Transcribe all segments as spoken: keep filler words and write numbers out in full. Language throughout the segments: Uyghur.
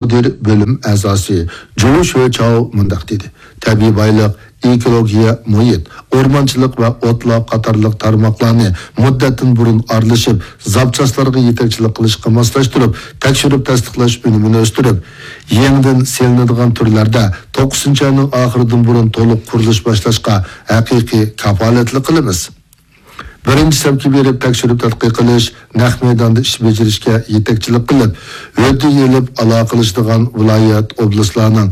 مۇدىر بۆلۈم ئەزاسى جۇ شۆچاۋ مۇنداق دېدى: تەبىئىي بايلىق، ئېكولوگىيە، مۇھىت، ئورمانچىلىق ۋە ئوتلاق قاتارلىق تارماقلارنى مۇددەتتىن بۇرۇن ئارىلىشىپ، زاپچاسلارغا يېتەكچىلىك قىلىشقا ماسلاشتۇرۇپ، تەكشۈرۈپ تەستىقلاش ئۈنۈمىنى ئۆستۈرۈپ، يېڭىدىن سېلىنىدىغان تۈرلەردە توققۇزىنچى ئاينىڭ ئاخىرىدىن بۇرۇن تولۇق قۇرۇلۇش باشلاشقا ھەقىقىي كاپالەتلىك قىلىمىز. بىرىنچى سەپكە بېرىپ تەكشۈرۈپ تەتقىق قىلىش، نەق مەيداندا ئىش بېجىرىشكە يېتەكچىلىك قىلىپ، ھۆددە ئېلىپ ئالاقىلىشىدىغان ۋىلايەت، ئوبلاستلارنىڭ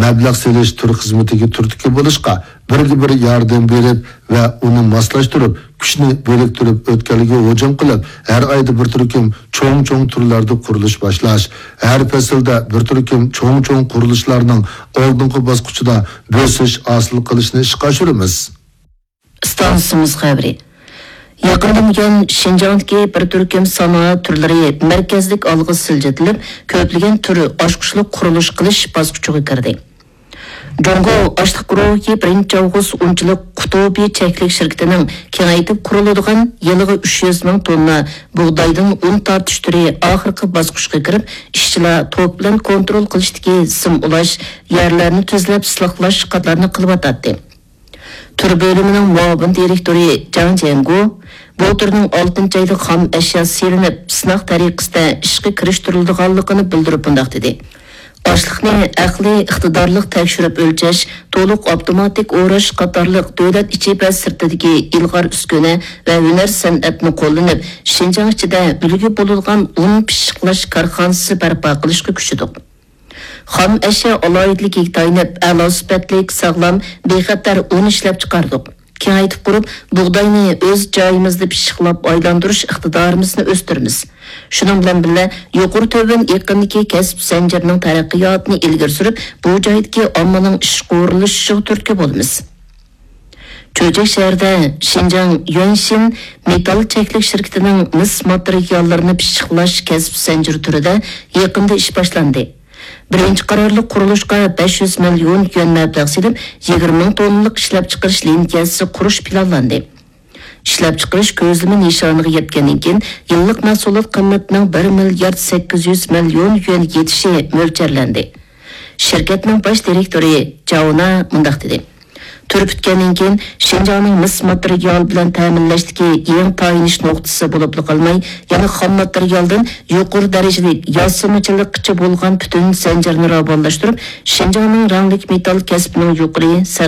مەبلەغ سېلىش تۈر خىزمىتىگە تۈرتكە بولۇشقا بىرگە بىر ياردەم بېرىپ ۋە ئۇنى ماسلاشتۇرۇپ، كۈچنى بىرىكتۈرۈپ ئۆتكەلگە ھۇجۇم قىلىپ، ھەر ئايدا بىر تۈركۈم چوڭ-چوڭ تۈرلەردە قۇرۇلۇش باشلاش، ھەر پەسىلدە بىر تۈركۈم چوڭ-چوڭ قۇرۇلۇشلارنىڭ ئالدىنقى باسقۇچىدا بۆسۈش ھاسىل قىلىشنى ئىشقا ئاشۇرىمىز. ئىستانسىمىز خەۋىرى. يېقىندىن بۇيان، شىنجاڭدىكى بىر تۈركۈم سانائەت تۈرلىرى مەركەزلىك ئالغا سىلجىتىلىپ، كۆپلىگەن تۈر ئاچقۇچلۇق قۇرۇلۇش قىلىش باسقۇچىغا كىردى. جۇڭگو ئاشلىق گۇرۇھى بىرىنچى ئاۋغۇست ئۇنچىلىك قۇتۇبى چەكلىك شىركىتىنىڭ كېڭەيتىپ قۇرۇلىدىغان يىلىغا ئۈچ يۈز مىڭ توننا بۇغدايدىن ئۇن تارتىش تۈرى ئاخىرقى باسقۇچقا كىرىپ، ئىشچىلار توك بىلەن كونترول قىلىشتىكى سىم ئۇلاش، يەرلەرنى تۈزلەپ سىلىقلاش قاتارنى قىلىۋاتاتتى. تۈر بۆلۈمىنىڭ مۇئاۋىن دىرېكتورى جاڭ جيەنگو بۇ تۈرنىڭ ئالتىنچى ئايدا خام ئەشيا سېلىنىپ، سىناق تەرىقىسىدە ئىشقا كىرىشتۈرۈلىدىغانلىقىنى بىلدۈرۈپ مۇنداق دېدى: ئاشلىقنى ئەقلىي ئىقتىدارلىق تەكشۈرۈپ ئۆلچەش، تولۇق ئاپتوماتىك ئوراش قاتارلىق دۆلەت ئىچى ۋە سىرتىدىكى ئىلغار ئۈسكۈنە ۋە ھۈنەر سەنئەتنى قوللىنىپ، شىنجاڭ ئىچىدە ئۈلگە بولىدىغان ئۇن پىششىقلاش كارخانىسى بەرپا قىلىشقا كۈچىدۇق. خام ئەشيا ئالاھىدىلىكىگە تايىنىپ، ئەلا سۈپەتلىك، ساغلام، بىخەتەر ئۇن ئىشلەپچىقاردۇق. كېڭەيتىپ قۇرۇپ، بۇغداينى ئۆز جايىمىزدا پىششىقلاپ ئايلاندۇرۇش ئىقتىدارىمىزنى ئۆستۈرىمىز. شۇنىڭ بىلەن بىللە، يۇقىرى تۆۋەن ئېقىمدىكى كەسىپ زەنجىرىنىڭ تەرەققىياتىنى ئىلگىرى سۈرۈپ، بۇ جايدىكى ئاممىنىڭ ئىشقا ئورۇنلىشىشىغا تۈرتكە بولىمىز. چۆچەك شەھىرىدە شىنجاڭ يۈەنشىن مېتال چەكلىك شىركىتىنىڭ مىس ماتېرىياللىرىنى پىششىقلاش كەسىپ زەنجىرى تۈرىدە يېقىندا ئىش باشلاندى. بىرىنچى قارارلىق قۇرۇلۇشقا بەش يۈز مىليون يۈەن مەبلەغ سېلىپ، يىگىرمە مىڭ توننىلىق ئىشلەپچىقىرىش لىنىيەسى قۇرۇش پىلانلاندى. ئىشلەپچىقىرىش كۆزلىمە نىشانىغا يەتكەندىن كېيىن، يىللىق مەھسۇلات قىممىتىنىڭ بىر مىليارد سەككىز يۈز مىليون يۈەن يېتىشى مۆلچەرلەندى. شىركەتنىڭ باش دىرېكتورى جاۋنا مۇنداق دېدى: تۈر پۈتكەندىن كېيىن، شىنجاڭنىڭ مىس ماتېرىيال بىلەن تەمىنلەشتىكى يېڭى تايىنىش نۇقتىسى بولۇپلا قالماي، يەنە خام ماتېرىيالدىن يۇقىرى دەرىجىلىك ياسىمىچىلىققىچە بولغان پۈتۈن زەنجىرنى راۋانلاشتۇرۇپ، شىنجاڭنىڭ رەڭلىك مېتال كەسپىنىڭ يۇقىرى سەرخىل